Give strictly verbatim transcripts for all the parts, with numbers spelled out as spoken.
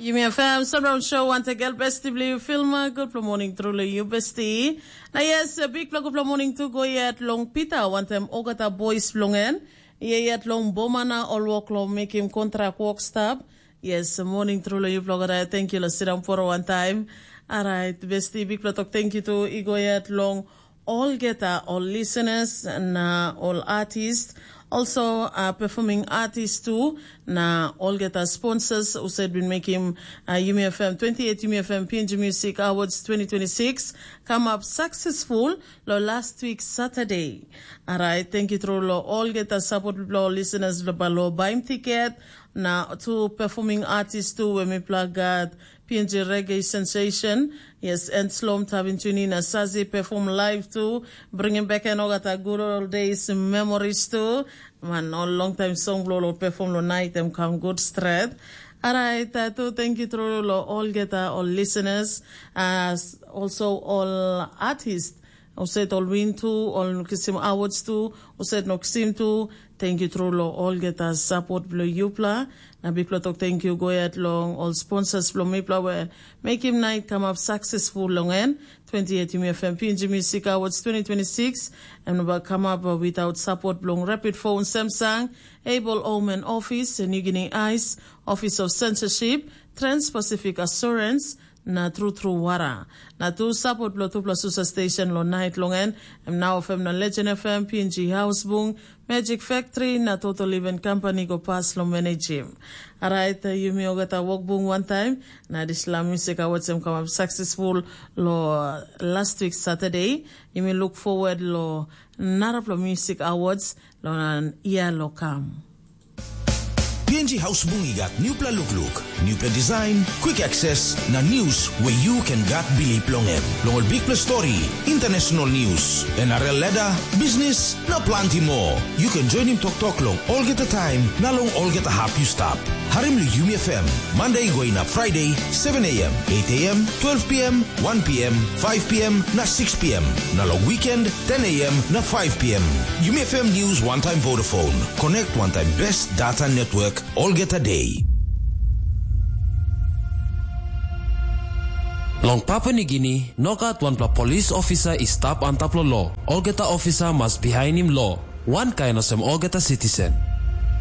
Yumi FM Sunround Show wantaim gel besti bilong yu Filma. Gutpela morning truly yu besti. Na yes, bikpela gutpela morning tu go yet long Pita wantaim olgeta boys bilong en. Ia yet long boma na ol wok long mekim kontrak wok stap. Yes, morning truly yu blogada. Thank you lo sidang poro wantaim. Alright, besti bikpela tok thank you tu i go yet long olgeta ol listeners na ol artist, also uh, performing artist tu, na olgeta sponsors husat bin mekim uh, Yumi FM twenty-eight Yumi FM P N G Music Awards twenty twenty-six come up successful lo last week Saturday. Alright, thank you tru lo olgeta support lo listeners lo balo baim ticket, na tu performing artist tu we mipela gat P N G Reggae Sensation. Yes, and Slom Tavin Tuni na Sazi perform live tu, bringing back and olgeta good old days memories tu. Man, ol long time song blo lo perform lo night em come good straight. Alright, uh, tu thank you tru lo olgeta ol listeners, as also ol artists. Husat ol win tu, ol no kisim awards tu, husat no kisim tu. Thank you tru lo olgeta support blo yupla. Na bikpela tok thank you go yet long ol sponsors blo mipla we mekim night come up successful long en. twenty-eight Yumi FM P N G Music Awards twenty twenty-six. Em no ba come up uh, without support blong Rapid Phone Samsung, Able Home and Office, New Guinea Ice, Office of Censorship, Trans-Pacific Assurance, na tru tru wara. Na tu sapot bilong tupela susa station long nait long en, em nau FM na Legend FM, PNG Hausbung, Magic Factory, na Total Event Company go pas long managim. Alright, yumi olgeta wokbung wantaim, na dispela music awards em kamap successful lo last week Saturday. Yumi look forward lo narapela music awards lo na ia lo kam. PNG Hausbung i gat newpela lukluk, newpela design, quick access, na news we you can gat bilip long em. Long ol bikpela story, international news, NRL ladder, business, na planti moa. You can join him toktok long olgeta taim na long olgeta hap you stap. Harim long Yumi FM, Monday go inap Friday, seven a.m., eight a.m., twelve p.m., one p.m., five p.m. na six p.m. Na long weekend, ten a.m. na five p.m. Yumi FM News wantaim Vodafone. Connect wantaim best data network olgeta day. Long Papua Nigini, nogat wanpela polis ofisa i stap antap long lo. Olgeta ofisa mas bihainim lo, wankain olsem olgeta sitisen.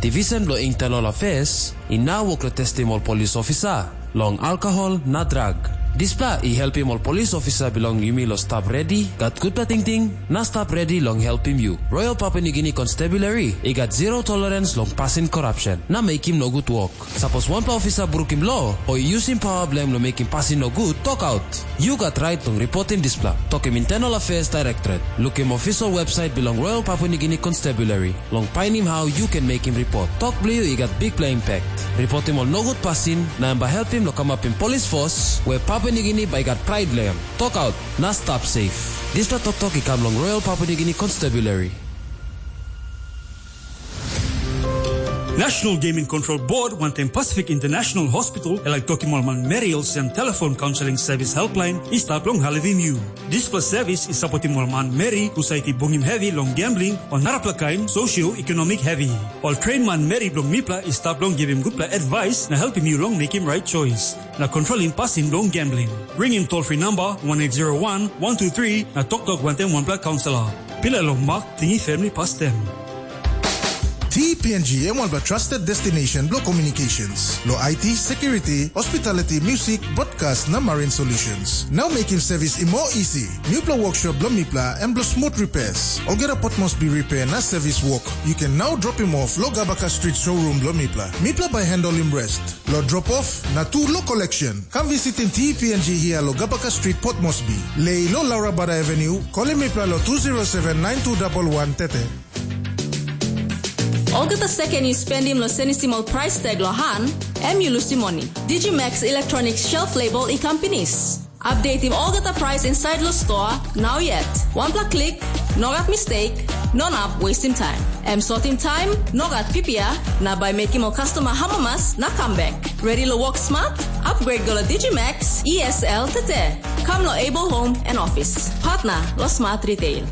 Divisen bilong Internal Affairs i nau wok long testim ol polis ofisa long alkohol na drag. Dispela i helpim ol polis ofisa bilong yumi long stap redi, gat gutpela tingting, na stap redi long helpim yu. Royal Papua Nigini Constabulary i gat zero tolerans long pasin korapsen na mekim nogut wok. Sapos wanpela ofisa brukim lo o i yusim pawa bilong em long mekim pasin nogut, tokaut. Yu gat rait long ripotim dispela. Tokim Internal Affairs Directorate. Lukim ofisal websait bilong Royal Papua Nigini Constabulary long painim hau yu ken mekim ripot. Tok bilong yu i gat bikpela impact. Ripotim ol nogut pasin, na em bai helpim long kamapim polis fos we Papua Nigini bai i gat prait long em. Tokaut, na stap safe. Dispela toktok i kam long Royal Papua Nigini Constabulary. National Gaming Control Board wantaim Pacific International Hospital e laik tokim ol manmeri olsem telefon kaunseling sevis helpline i stap long helpim yu. Dispela sevis i sapotim ol manmeri husat i bungim hevi long gambling o narapela kain sosioekonomik hevi. Ol tren manmeri bilong mipela i stap long givim gutpela advais na helpim yu long mekim rait choice na kontrolim pasin bilong gambling. Ringim toll free number one eight zero one one two three na toktok wantaim wanpela kaunselor. Pilai long mak tingim family pastem. TPNG em wanpela trusted destination bilong communications, lo I T, security, hospitality, music, broadcast na marine solutions. Now making service i more easy. Newpela workshop bilong mipela em bilong smooth repairs. Olgeta pot must be repair na service work. You can now drop him off lo Gabaka Street showroom bilong mipela. Mipela by handle him rest. Lo drop off na tu lo collection. Come visitim TPNG here lo Gabaka Street Port Moresby. Lei lo Laura Bada Avenue, kolim mipela lo two zero seven nine two double one tete. Olgeta seken yu spendim long senisim ol price tag long han, em yu lusim moni. Digimax Electronics Shelf Label i kam pinis. Updatim olgeta price inside lo store, now yet. Wanpela klik, no gat mistake, no nap wastim time. Em sotim time, no gat pipia, na bai mekim ol customer hamamas na kam bek. Ready lo work smart? Upgrade go lo Digimax E S L tete. Kam lo Able Home and Office. Partner lo Smart Retail.